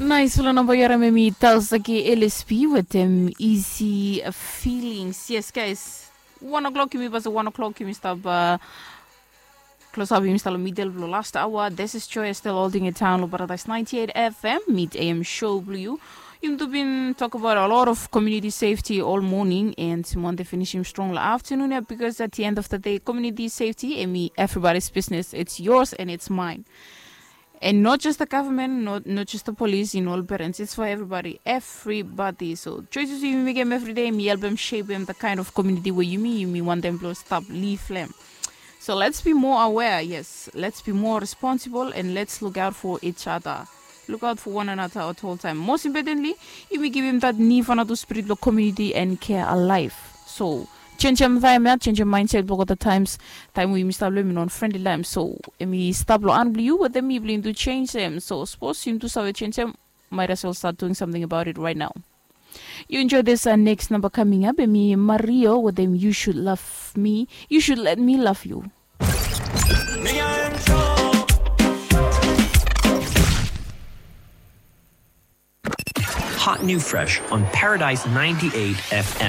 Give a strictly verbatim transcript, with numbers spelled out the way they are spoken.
Naisfala namba yu harim em i Talsaki L S P wetem Easy Feelings. Yes, guys. One o'clock yumi basa one o'clock yumi stap uh, close up yumi stap lo middle blo last hour. This is Joy still holding it down lo Paradise ninety-eight F M mid A M show blo yu. Yumi tu bin talk about a lot of community safety all morning and yumi wante finishim strong lo afternoon ya because at the end of the day community safety em i everybody's business. It's yours and it's mine. And not just the government, not, not just the police in all parents. It's for everybody, everybody. So choices yumi mekem every day, mi helpem shapem the kind of community where yumi, yumi want them to stop, leave them. So let's be more aware, yes. Let's be more responsible and let's look out for each other. Look out for one another at all time. Most importantly, yumi givim that ni fanatu spirit lo community and care alive. So, changem time ya, changem mindset blo the times. Taem we yumi stap lo em i non friendly time. So, em i stap lo an blo yu wetem mi blo yumi tu changem. So, sapos yumi tu save changem, might as well start doing something about it right now. You enjoy this uh, next number coming up. Em i Mario wetem You Should Love Me. You should let me love you. Hot new fresh on Paradise ninety-eight F M.